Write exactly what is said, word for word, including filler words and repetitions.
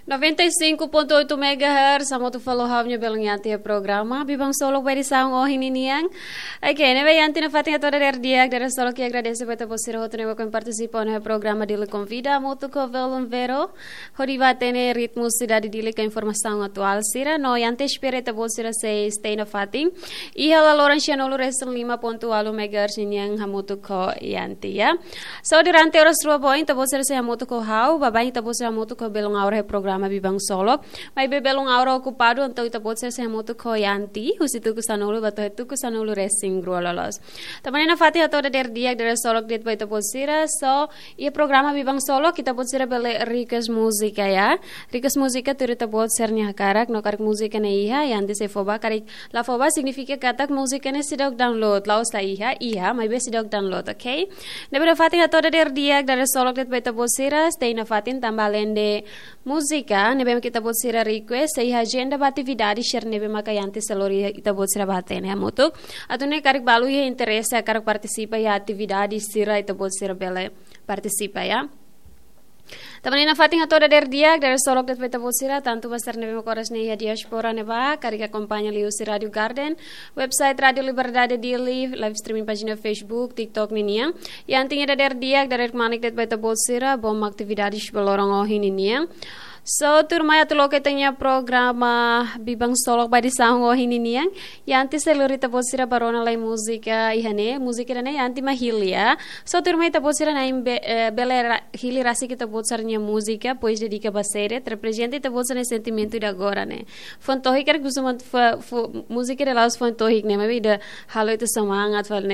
Noventa e cinco ponto oito megahertz, hamutuk ho ha'u-nia belun Yanti iha programa Biban Solok ba edisaun ohin ninian. Oke, ne'ebé Yanti, nafatin hato'o dadeer di'ak, dadeer solok ha'u agradese ba ita-boot sira hotu ne'ebé mak partisipa iha programa Dili Konvida, hamutuk ho belun Vero, hodi ba hatene ritmu sidade Dili ka informasaun atuál sira, no Yanti espera ita-boot sira sei stay nafatin iha laloran sianulu resin lima ponto ualu megahertz ninian hamutuk ho Yanti, ya. So, durante oras rua ba oin, ita-boot sira sei hamutuk ho ha'u, baibain ita-boot sira hamutuk ho belun Aura iha programa Biban Solok. Maibé belun Aura okupadu, entaun ita-boot sira sei hamutuk ho Yanti, husi tuku sanulu ba to'o tuku sanulu resin rua loloos. Tanba ne'e nafatin hato'o dadeer di'ak, dadeer solok de'it ba ita-boot sira. So, iha programa Biban Solok, ita-boot sira bele request múzika, ya. Request múzika tuir ita-boot sira-nia hakarak, no karik múzika ne'e iha, Yanti sei fó ba, karik la fó ba signifika katak múzika ne'e seidauk download, la'ós la iha, iha, maibé seidauk download, oke? Ne'ebé nafatin hato'o dadeer di'ak, dadeer solok de'it ba ita-boot sira, stay nafatin tanba alende múzika ne'ebé mak ita-boot sira request, sei iha ajenda ba atividade sira ne'ebé maka Yanti sei lori ita-boot sira ba hatene hamutuk. Atu nune'e karik balu iha interese hakarak partisipa iha atividade sira, ita-boot sira bele partisipa, ya. Tanba ne'e nafatin hato'o dadeer di'ak, dadeer solok de'it ba ita-boot sira, tantu ba sira ne'ebé mak oras ne'e iha diáspora ne'ebá, karik akompaña liuhusi Rádio Garden, website Rádio Liberdade Dili, live streaming pájina Facebook, TikTok ninian. Yanti nia dadeer di'ak, dadeer kmanek de'it ba ita-boot sira, bom atividades ba loron ohin ninian. So, tuirmai atu loke ita-nia programa Biban Solok ba edisaun ohin ninian. Yanti sei lori ita-boot sira ba rona lai múzika iha ne'e, múzika ida-ne'e Yanti mak hili, ya. So, tuirmai ita-boot sira na'in be-, eh, bele ra-, hili rasik ita-boot sira-nia múzika, pois dedika ba sé de'it, reprezenta ita-boot sira-nia sentimentu ida agora ne'e. Foin tohik karik husu man fo-, fo-, múzika ida la'ós foin tohik ne'e, maibé ida halo ita semangat fali ne'e.